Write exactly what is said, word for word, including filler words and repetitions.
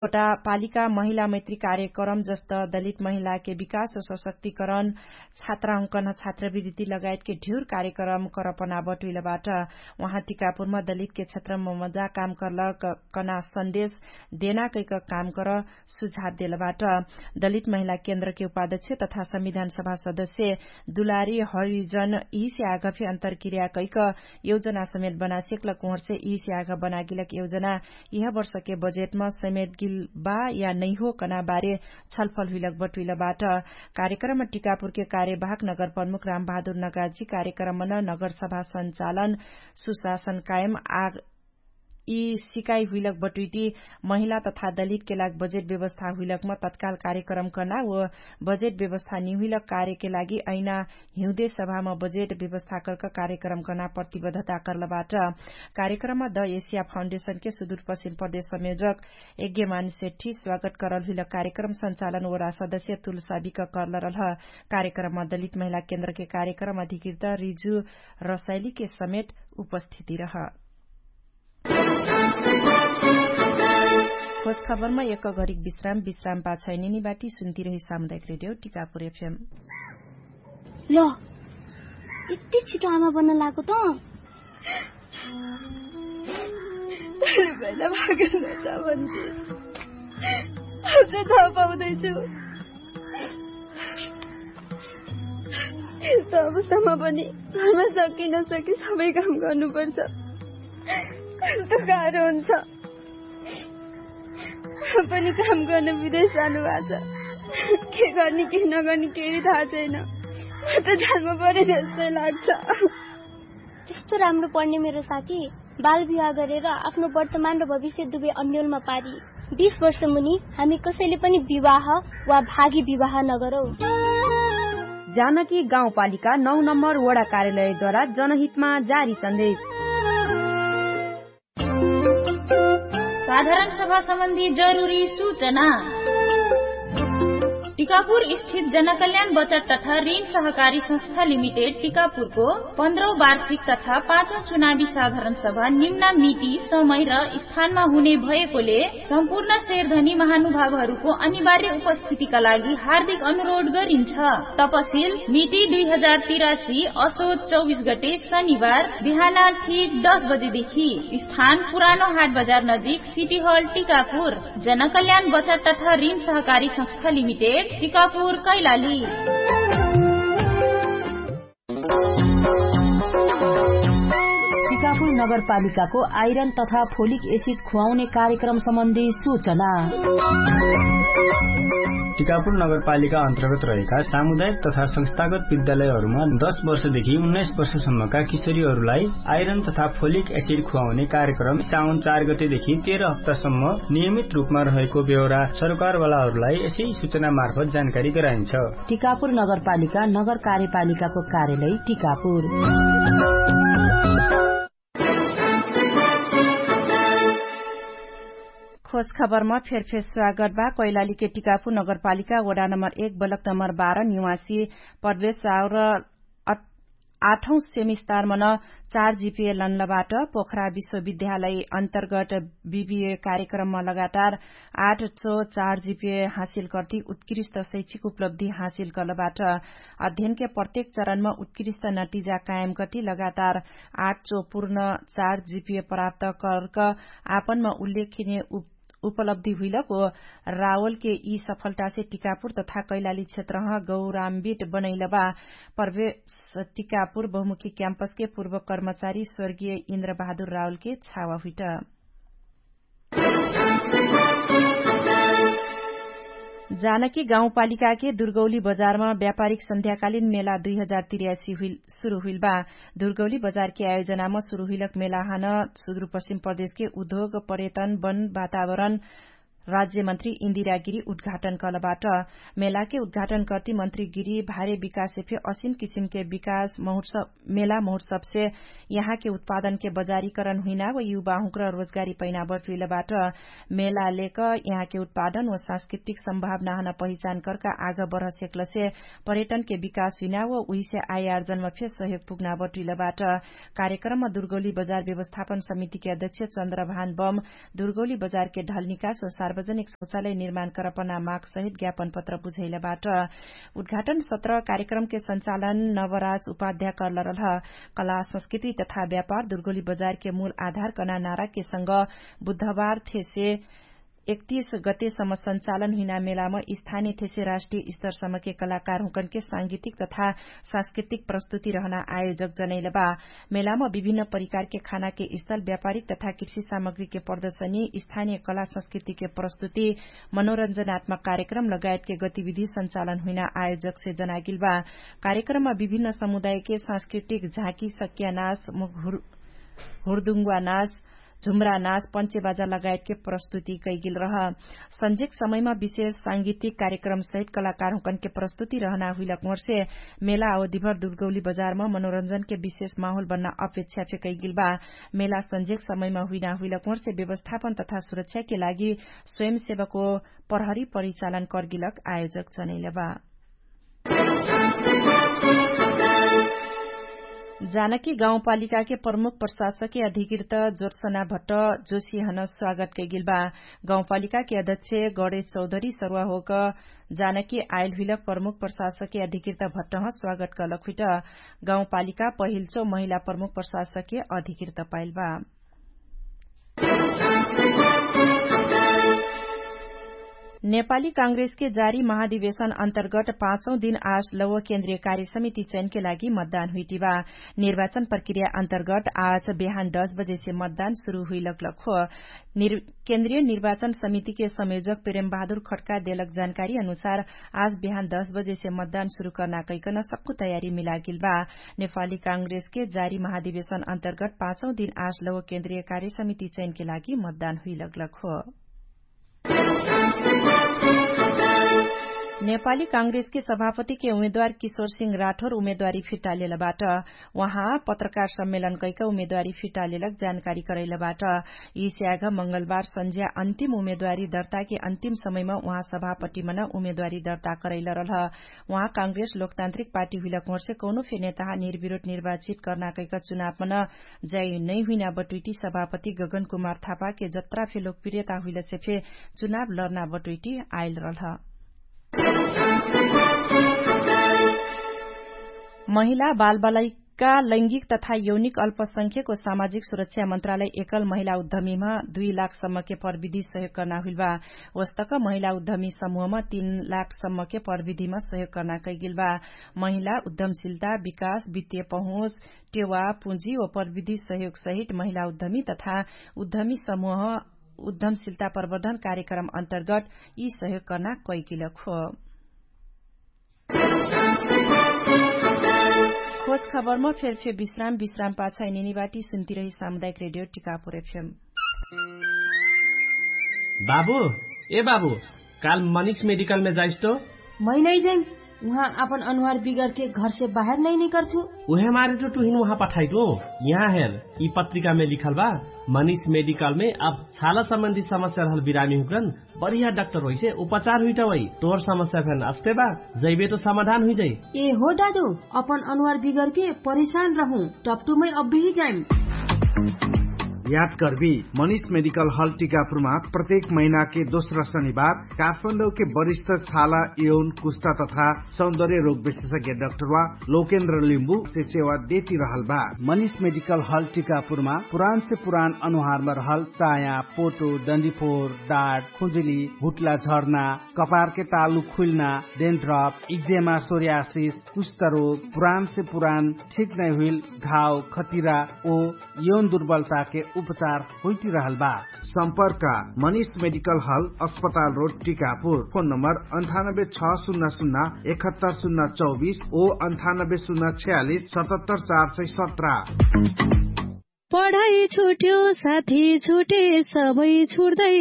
कोटा पालिका महिला मैत्री कार्यक्रम जस्त दलित महिलाके विकास सशक्तिकरण, छात्राहुँकन छात्रवृद्धि लगायतके ढ्युर कार्यक्रम करपना बटुइलबाट। उहाँ टिकापुरमा दलितके क्षेत्रम मजा काम कर्लक कना सन्देश देना कैक काम कर सुझाव देलबाट। दलित महिला केन्द्रके उपाध्यक्ष तथा संविधान सभा सदस्य दुलारी हरिजन यिहिसे आघफे अन्तरक्रिया कैक योजना समेत बनासेक्लक उहर्से यिहिसे आघ बनागिलक योजना यिह वर्षके बजेटम समेत गिल बा या नैहो कना बारे छलफल हुइलक बटुइलबाट। कार्यक्रम टिकापुरके कार्यवाहक नगर प्रमुख रामबहादुर नगाजी कार्यक्रमन नगरसभा सञ्चालन सुशासन कायम आ यि सिकाइ हुइलक बटुइटी महिला तथा दलितके लाग बजेट व्यवस्था हुइलकम तत्काल कार्यक्रम कर्ना व बजेट व्यवस्था निहुइलक कार्यके लागि अइना हिउँदे सभाम बजेट व्यवस्था कर्क कार्यक्रम कर्ना प्रतिबद्धता कर्लबाट। कार्यक्रममा द एसिया फाउन्डेसनके सुदूरपश्चिम प्रदेश संयोजक यज्ञमान सेठी स्वागत करल हुइलक कार्यक्रम सञ्चालन ओरा सदस्य तुलसाबिक कर्लरलह। कार्यक्रममा दलित महिला केन्द्रके कार्यक्रम अधिकृत रिजु रसाइलीके समेत उपस्थिति रह। खोज खबरमा एक घरिक विश्राम विश्राम पाछाइ निनी बाटी सुन्ती रही सामुदायिक रेडियो टिकापुर एफएम। ल यति छिटो आमा बन्न लागो त। अझै थाहा पाउँदैछु। यस्तो अवस्थामा पनि घरमा सकिनसके सबै काम गर्नुपर्छ। कस्तो गाह्रो हुन्छ। पनि काम गर्न विदेश जानुभएको छ। के गर्ने के नगर्ने केही थाहा छैन। म त जानमा परे जस्तै लाग्छ। त्यस्तो राम्रो पढ्ने मेरो साथी बाल विवाह गरेर आफ्नो वर्तमान र भविष्य दुवै अन्यलमा पारी बीस वर्ष मुनि हामी कसैले पनि विवाह वा भागी विवाह नगरौ। जानकी गाउँपालिका नौ नम्बर वडा कार्यालयद्वारा जनहितमा जारी सन्देश। साधारण सभा सम्बन्धी जरुरी सूचना। टिकापुर स्थित जनकल्याण बचत तथा ऋण सहकारी संस्था लिमिटेड टिकापुरको पन्ध्रौं वार्षिक तथा पाँचौं चुनावी साधारण सभा निम्ना मिति समय र स्थानमा हुने भएकोले सम्पूर्ण शेरधनी महानुभावहरूको अनिवार्य उपस्थितिका लागि हार्दिक अनुरोध गरिन्छ। तपसिल मिति दुई हजार तिरासी असोज चौबिस गते शनिबार बिहान ठिक दस बजेदेखि। स्थान पुरानो हाट बजार नजिक सिटी हल टिकापुर। जनकल्याण बचत तथा ऋण सहकारी संस्था लिमिटेड टिकापुर कैलाली। टिकापुर नगरपालिकाको आइरन तथा फोलिक एसिड खुवाउने कार्यक्रम सम्बन्धी सूचना। टिकापुर नगरपालिका अन्तर्गत रहेका सामुदायिक तथा संस्थागत विद्यालयहरूमा दस वर्षदेखि उन्नाइस वर्षसम्मका किशोरीहरूलाई आइरन तथा फोलिक एसिड खुवाउने कार्यक्रम साउन चार गतेदेखि तेह्र हप्तासम्म नियमित रूपमा रहेको बेहोरा सरकारवालाहरूलाई यसै सूचना मार्फत जानकारी गराइन्छ। टिकापुर नगरपालिका नगर कार्यपालिकाको कार्यालय टिकापुर। खोज खबरमा फेरफेर स्वागत बा। कैलालीके टिकापुर नगरपालिका वडा नम्बर एक बलक नम्बर बाह्र निवासी प्रवेश साउर आठौं सेमिस्तार मन चार जिपिए लन्लबाट पोखरा विश्वविद्यालय अन्तर्गत बिबिए कार्यक्रममा लगातार आठ चो चार जिपिए हासिल कर्ति उत्कृष्ट शैक्षिक उपलब्धि हासिल कर्लबाट। अध्ययनके प्रत्येक चरणमा उत्कृष्ट नतिजा कायम कर्ति लगातार आठ चो पूर्ण चार जिपिए प्राप्त कर्क आपनमा उल्लेखिने उप उपलब्धि हुइलक ओ रावलके यि सफलतासे टिकापुर तथा कैलाली क्षेत्रह गौराम्बित बनैलबा। प्रवेश टिकापुर बहुमुखी क्याम्पसके पूर्व कर्मचारी स्वर्गीय इन्द्र बहादुर रावलके छावा हुइट। जानकी गाउँपालिकाके दुर्गौली बजारमा व्यापारिक सन्ध्याकालीन मेला दुई हजार तिर्यासी हुइल सुरु हुइल बा। दुर्गौली बजारके आयोजनामा सुरु हुइलक मेलाहन सुदुरपश्चिम प्रदेशके उद्योग पर्यटन वन वातावरण राज्यमन्त्री इन्दिरा गिरी उद्घाटन कलबाट। मेलाके उद्घाटन कर्ति मन्त्री गिरी भारे विकाससे फे असिन किसिमके विकास महुर्स मेला महुर्सबसे यहाँके उत्पादनके बजारीकरण हुइना व युवाहुँक्र रोजगारी पैना बटुइलबाट। मेला लेक यहाँके उत्पादन व सांस्कृतिक सम्भावनाहन पहिचान कर्का आग बढसेक्लसे पर्यटनके विकास हुइना व उहिसे आयार्जनमा फे सहयोग पुग्ना बटुइलबाट। कार्यक्रममा दुर्गौली बजार व्यवस्थापन समितिके अध्यक्ष चन्द्रभान बम दुर्गौली बजारके ढलनिकास व सार्व सार्वजनिक शौचालय निर्माण करपना माग सहित ज्ञापन पत्र बुझैलबाट। उद्घाटन सत्र कार्यक्रमके सञ्चालन नवराज उपाध्याय कर्लरलह। कला संस्कृति तथा व्यापार दुर्गोली बजारके मूल आधार कना नाराके संग बुधबार थेसे एकतीस गतेसम्म सञ्चालन हुइना मेलाम स्थानीय थेसे राष्ट्रिय स्तरसम्मके कलाकारहुँकनके सांगीतिक तथा सांस्कृतिक प्रस्तुति रहना आयोजक जनैलबा। मेलाम विभिन्न परिकारके खानाके स्थल व्यापारिक तथा कृषि सामग्रीके प्रदर्शनी स्थानीय कला संस्कृतिके प्रस्तुति मनोरञ्जनात्मक कार्यक्रम लगायतके गतिविधि सञ्चालन हुइना आयोजकसे जनागिलबा। कार्यक्रममा विभिन्न समुदायके सांस्कृतिक झाँकी सक्यानास हुर्दुङ्गुवा नाच झुम्रा नाच पञ्चे बाजा लगायतके प्रस्तुति कैगिल रह। सन्जेक समयमा विशेष सांगीतिक कार्यक्रम सहित कलाकारहुँकनके प्रस्तुति रहना हुइलक मोर्से मेला अवधिभर दुर्गौली बजारमा मनोरञ्जनके विशेष माहोल बन्ना अपेक्षा फे कैगिल बा। मेला सन्जेक समयमा हुइना हुइलक मोर्से व्यवस्थापन तथा सुरक्षाके लागि स्वयंसेवको प्रहरी परिचालन कर्गिलक आयोजक जनैलबा। जानकी गाउँपालिकाके प्रमुख प्रशासके अधिकृत जोर्सना भट्ट जोसिहन स्वागत कैगिलबा। गाउँपालिकाके अध्यक्ष गणेश चौधरी सरुवा होक जानकी आइलहुइलक प्रमुख प्रशासके अधिकृत भट्टह स्वागत कलक हुइट। गाउँपालिका पहिल्चो महिला प्रमुख प्रशासके अधिकृत पाइलबा। नेपाली काङ्ग्रेसके जारी महाधिवेशन अन्तर्गट पाँचौ दिन आज लौव केन्द्रीय कार्यसमिति चयनके लागि मतदान हुइटिबा। निर्वाचन प्रक्रिया अन्तर्गट आज बिहान दस बजेसे मतदान सुरु हुइलकलक हो। केन्द्रीय निर्वाचन समितिके संयोजक प्रेमबहादुर खट्का देलक जानकारी अनुसार आज बिहान दस बजेसे मतदान सुरु कर्ना कैकन सक्कु तयारी मिलागिल बा। नेपाली काङ्ग्रेसके जारी महाधिवेशन अन्तर्गट पाँचौ दिन आज लौव केन्द्रीय कार्यसमिति चयनके लागि मतदान हुइलकलक हो। नेपाली काङ्ग्रेसके सभापतिके उमेदवार किशोर सिंह राठोर उमेदवारी फिर्ता लेलबाट। उहाँ पत्रकार सम्मेलन कैक उमेदवारी फिर्ता लेलक जानकारी करैलबाट। यि स्याघ मंगलबार सन्झ्या अन्तिम उमेदवारी दर्ताके अन्तिम समयमा उहाँ सभापतिमन उमेदवारी दर्ता करैलरलह। उहाँ काङ्ग्रेस लोकतान्त्रिक पार्टी हुइलक मोर्से कौनो फे नेताहा निर्विरोध निर्वाचित कर्ना कैक चुनावमन जाई नैहुइना बटुइटी सभापति गगन कुमार थापाके जत्रा फे लोकप्रियता हुइलसे फे चुनाव लर्ना बटुइटी आइलरलह। महिला बालबालैका लैङ्गिक तथा यौनिक अल्पसंख्यको सामाजिक सुरक्षा मन्त्रालय एकल महिला उद्धमीमा दुई लाखसम्मके प्रविधि सहयोग कर्ना हुइलबा। वस्तक महिला उद्धमी समूहमा तीन लाखसम्मके प्रविधिमा सहयोग कर्ना कैगिलबा। महिला उद्धमशिलता विकास वित्तीय पहुँच टेवा पुँजी व प्रविधि सहयोग सहित महिला उद्धमी तथा उद्धमी समूह उद्धमशिलता प्रवर्धन कार्यक्रम अन्तर्गट यि सहयोग कर्ना कैगिलक हो। खोज खबरमा फेरफे विश्राम विश्राम पाछ इनिनिबाटी सुन्तिरही सामुदायिक रेडियो टिकापुर एफएम। बाबु, ए बाबु, काल मनिष मेडिकलमे जाइस्तो? मै नै जाइम। उहाँ आपन अनुहार बिगरके घरसे बाहेर नै निकरछु। उहे मारे टु टुहिन उहाँ पठाइटु। यहाँ हेर, यि पत्रिकामे लिखल बा। मनिष मेडिकलमे अब छाला सम्बन्धी समस्या रहल बिरामी हुकरन बढिया डाक्टर होइसे उपचार हुइटवै। तोर समस्या फेन अस्ते बा, जैबे तो समाधान हुइजै। ए हो दादु, अपन अनुहार बिगरके परेशान रहु। टपटुमै अब्बिही जाइम। याद कर्बी, मनिष मेडिकल हल टिकापुरमा प्रत्येक महिनाके दोस्रा शनिबार काठमाडौके वरिष्ठ छाला यौन कुस्ता तथा सौन्दर्य रोग विशेषज्ञ डाक्टरवा लोकेन्द्र लिम्बु से सेवा देती रहल बा। मनिष मेडिकल हल टिकापुरमा पुरान से पुरान अनुहारमा रहल चाया, पोटो, डन्डीफोर, डाट, खुजुली, हुट्ला झर्ना, कपारके तालु खुइल्ना, डेन्ड्रप, इक्जेमा सोर्यासिस, कुष्ठरोग, पुरान से पुरान ठीक नै हुइल घाव, खतिरा ओ यौन दुर्बलताके उपचार होइटिरहल बा। सम्पर्क मनिष मेडिकल हल अस्पताल रोड टिकापुर। फोन नम्बर अन्ठानब्बे छ सुन्ना सुन्ना एकहत्तर सुन्ना चौबिस ओ अन्ठानब्बे सुन्ना छयालिस सतहत्तर चार सय सत्र। पढाइ छुट्यो साथी छुटे सबै छुट्दै।